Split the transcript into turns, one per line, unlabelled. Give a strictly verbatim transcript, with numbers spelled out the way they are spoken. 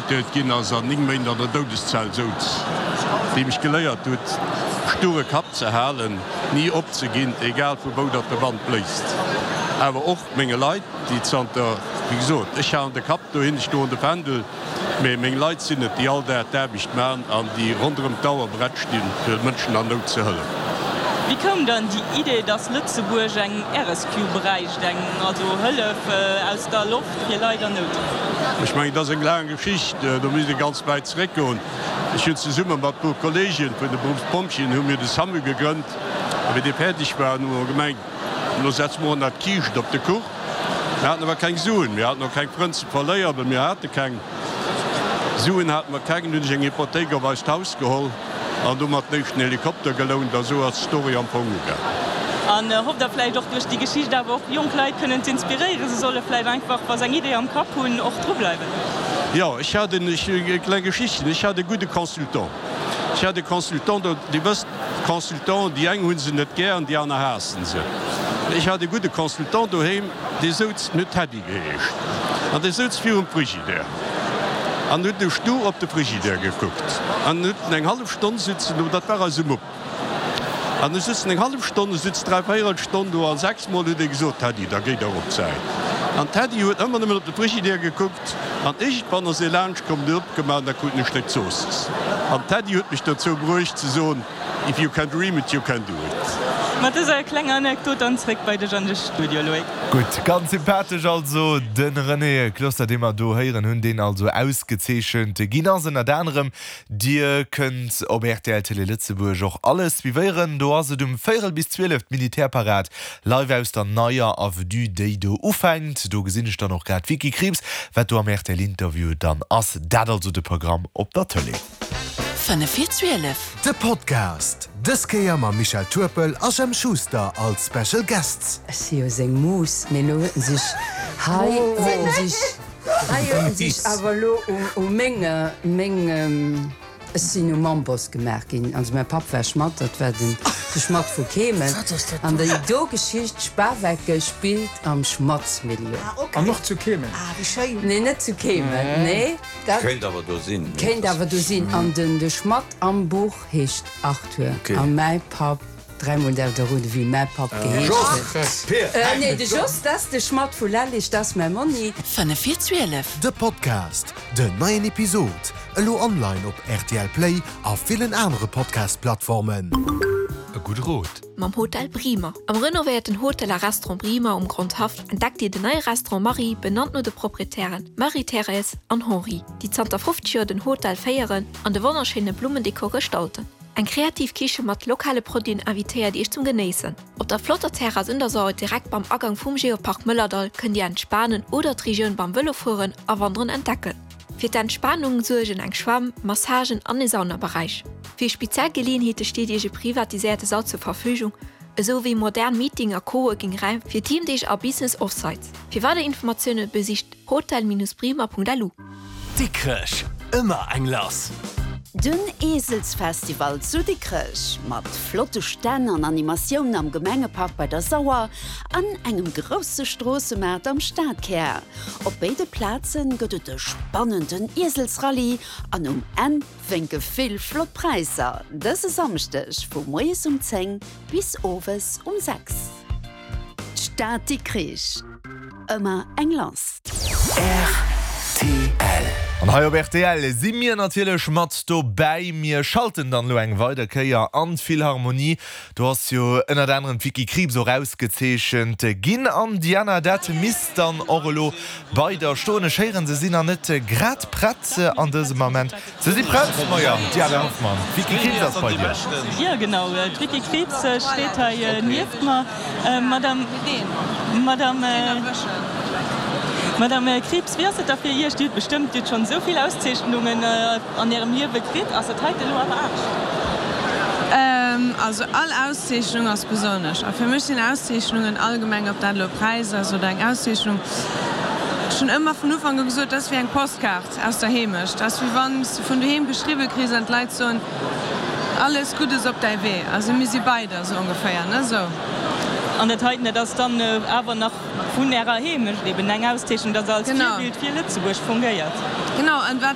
verurteelt ginn ass an néng Méint an der Doudeszell souz, déi mech geléiert huet, sture Kapp ze halen, ni opzeginn, egal vu wou datt de Wand bléist. Awer och menge Leit, déi zanter, wéi gesot, ech halen de Kapp dohin, ech doen de Fändel, mee meng Leit sinn et, déi all Dag d'Aarbecht maachen an déi ronderëm d'Auer prett stinn, fir Mënschen an Nout ze hëllefen.
Wéi koum dann déi Idee, dass Lëtzebuerg eng Air Rescue bräicht, eng also Hëllef aus der Loft fir Leit an Nout?
Ech mengen, dat ass eng laang Geschicht, do misst ee ganz wäit zeréckgoen. Ech hunn zesumme mat e puer Kolleegen vun de Beruffspompjeeën hu mir de SAMU gegrënnt. A wéi dee fäerdeg war, hu mer gemengt, elo setze mer och nach d'Kiischt op de Kuch. Mir haten awer keng Suen, mir haten och keng Frënn ze verléieren, well mir hate keng Suen hate mer keng. Dunn hunn ech eng Hypothéik op eist Haus geholl an domat den éischten Helikopter gelount a sou ass d'Story am Fong ugaangen.
An hofft Der vläicht och duerch déi Geschicht awer och jonk Leit kënnen z'inspiréieren, se solle vläicht einfach, wa se eng Idee am Kapp hunn, och dru bleiwen?
Jo, ech hat en, eng kleng Geschichtchen, ech hat e gudde Consultant. Ech hat e Consultant, do, Dir wësst, Consultanten, déi eng hu se net gär an déi aner haassen se. Ech hat e gudde Consultant doheem, dee souz, en huet Teddy geheescht, an dee souz virum Frigidaire an huet du stur op de Frigidaire gekuckt an huet en eng hallef Stonn sitzen do, dat war eise Mupp, an e sutz en eng hallef Stonn, e sutz dräi véierel Stonn do an sechs Mol huet e gesot, Teddy, da géi dach op d'Säit. An Teddy huet ëmmer nëmmen op de Frigidaire gekuckt an iergendwann ass e laanscht komm, huet opgemaach an da krut en e Stéck Zoossiss. An Teddy huet mech dozou bruecht ze soen, If you can dream it, you can do it.
Mat dëser klenger Anekdot dann zréck bei dech an de Studio, Loïc.
Gutt, ganz sympathesch also de René Closter, dee mer do héieren hunn, deen also ausgezeechent ginn ass ënnert anerem. Dir kënnt op rtl Télé Lëtzebuerg och alles suivéieren. Do ass et um véierel bis zwielef d'Militärparad live aus der neier Avenue, déi do ufänkt. Do gesinn ech dann och grad d'Vicky Krieps, wat do am rtl Interview dann ass. Dat also de Programm op der Tëlee.
Fënnef vir zwielef.
De Podcast, dës Kéier mam Michel Turpel a Jemp Schuster als Special Guests.
Ech si jo seng Mus, mee lo huet en sech hei huet en sech hei huet en sech awer lo u meng meng ech sinn um Amboss gemaach ginn. Also mäi Papp war Schmadd, dat war den de Schmadd vu Keemen. An déi do Geschicht Spawecken spillt am Schmaddsmilieu.
An och zu Keemen?
Nee, net zu Keemen, nee. Dat
Kéint awer do sinn.
Kéint awer do sinn. An den de Schmadd am Buch heescht Arthur. A mäi Papp, dräimol däerft Der roden, wéi mäi Papp geheescht huet. Nee, de Jos, dat ass de Schmadd vu Lellig, dat ass mäi Monni.
Fënnef vir zwielef.
De Podcast, Den neien Episod elo online op rtl Play a villen anere Podcast-Plattformen.
E gudde Rot.
Mam Hotel Brimer. Am renovéierten Hotel a Restaurant Brimer um Grondhaff entdeckt Dir den neie Restaurant Marie, benannt no de Proprietären Marie-Thérèse an Henri, déi zanter fofzeg Joer den Hotel féieren an de wonnerschéine Blummendekor gestalten. Eng kreativ Kiche mat lokale Produiten invitéiert Iech zum Genéissen. Op der flotter Terrass un der Saur direkt beim Agang vum Geopark Mëllerdall kënnt Dir entspanen oder d'Regioun beim Vëlofueren a Wanderen entdecken. Fir d'Entspanung suergen eng Schwämm, Massagen an e Saunaberäich. Fir speziell Geleeënheete steet Iech e privatiséierte Sall zur Verfügung, esou wéi modern Meeting a Coworking-Räim fir Teamdeeg a Business Offsites. Fir weider Informatioune besicht hotel-brimer.lu.
Dikrech, ëmmer eng lass!
Den Eselsfestival zu Dikrech mat flotte Stänn an Animatioun am Gemengepark bei der Sauer an engem grousse Stroossemaart am Stadkär. Op béide Plaze gëtt et e spannenden Ieselsrallye an um Enn wénke vill flott Präisser. Dëse Samschdeg vu moies um zéng bis owes um sechs. D'Stad Dikrich, ëmmer eng lass!
Rtl.
An hei op rtl si mir natierlech mat dobäi. Mir schalten dann elo eng weider Kéier an d'Philharmonie. Do ass jo ënnert anerem d'Vicky Krieps och ausgezeechent ginn. An Diana, dat misst dann och elo bei der stoen. Ech héieren, se sinn nach net grad prett an dësem Ament. Se si prett? Maja, Diana Hoffmann, d'Vicky Krieps ass bei dir.
Jo, genau, d'Vicky Krieps steet hei nieft mer. Madame, Madame, Madame Krieps, wéi ass et da fir Iech? Dir hutt bestëmmt, Dir hutt schonn esou vill Auszeechnungen an Ärem Liewe kritt. Ass dat heite elo awer anescht?
Also all Auszeechnung ass besonnesch. A fir mech sinn Auszeechnungen allgemeng, ob dat elo e Präis ass oder eng Auszeechnung, ech hunn ëmmer vun Ufank u gesot, dat ass wéi eng Postkaart aus der Heemecht. Dat ass wéi wann s de vun doheem geschriwwe kriss an d'Leit soen, Alles Guddes op däi Wee. Also mir si bei der, sou ongeféier, ne? Sou.
An dat heiten, dat ass dann awer nach vun Ärer Heemecht eben eng Auszeechnung, dass Der als Virbild fir Lëtzebuerg fungéiert.
Genau. An wat